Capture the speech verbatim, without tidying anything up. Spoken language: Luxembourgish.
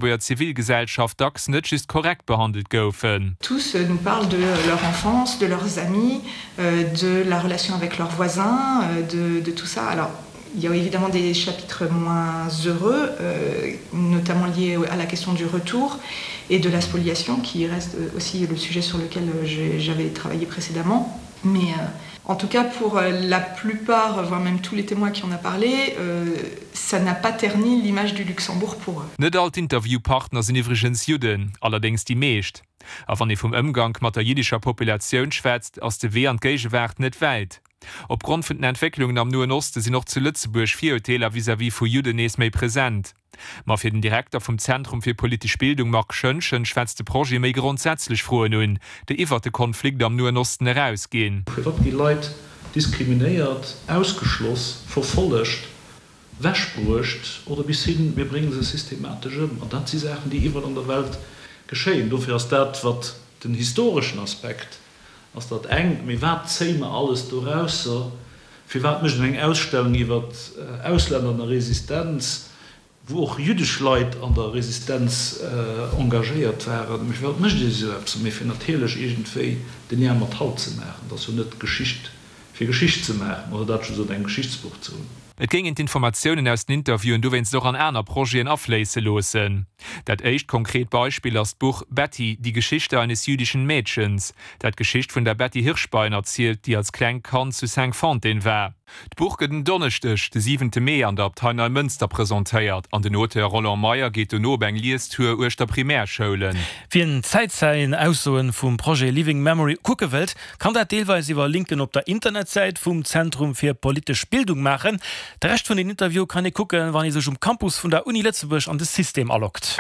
Lëtzebuerger Zivilgesellschaft dacks net just korrekt behandelt goufen. Tous nous parlent de leur enfance, de leurs amis, de la relation avec leurs voisins, de, de tout ça. Alors, il y a évidemment des chapitres moins heureux, euh, notamment liés à la question du retour et de la spoliation, qui reste aussi le sujet sur lequel j'avais travaillé précédemment. Mais euh, en tout cas, pour la plupart, voire même tous les témoins qui en a parlé, euh, ça n'a pas terni l'image du Luxembourg pour eux. Net all d'Interviewpartner sinn iwwregens Judden, allerdéngs déi meescht. A wann ee vum Ëmgank mat der jiddescher Populatioun schwätzt, ass de Wee an d'Géigewaart net wäit. Opgrond vun den Entwécklungen am Noen Oste sinn och zu Lëtzebuerg Virurteeler vis-à-vis vu Judden nees méi present. Ma fir den Direkter vum Zentrum fir politesch Bildung Marc Schoentgen schwätzt de Projet méi grondsätzlech Froen un, déi iwwer de Konflikt am Noen Osten erausginn. Firwat gi Leit diskriminéiert, ausgeschloss, verfollegt, wechbruecht oder bis hin, mir brénge se systematesch ëm? An dat si Saachen, déi iwwerall an der Welt geschéien. Dofir ass dat, wat den historeschen Aspekt ass, dat engt, mee wat zéie mer alles dorausser? Firwat mécht een eng Ausstellung iwwer Auslänner an der Resistenz, wou och jüddesch Leit an der Resistenz engagéiert waren? Mee firwat mécht ee esou eppes? Mee fir natierlech iergendwéi de Lien mat haut ze maachen. Et ass jo net Geschicht fir Geschicht ze maachen oder dat just an engem Geschichtsbuch ze hunn. Et géing een d'Informatiounen aus den Interviewen dowéinst och an aner Projeten afléisse loossen. Dat éischt konkret Beispill ass d'Buch Betty, die Geschichte eines jüdischen Mädchens, dat d'Geschicht vun der Betty Hirschbein erzielt, déi als klengt Kand zu Cinqfontaines war. D'Buch gëtt en Donneschdeg, de siwente Mee an der Abtei Neimënster presentéiert an den Auteur Roland Meyer geet dono op eng Liestour uechter Primärschoulen. Wien Zäitzeien-Aussoen vum Projet Living Memory kucke wëllt, kann dat deelweis iwwer Linken op der Internetsäit vum Zentrum fir politesch Bildung maachen. De Rescht vun den Interviewe kann ee kucken, wann ee sech um Campus vun der Uni Lëtzebuerg an de System aloggt.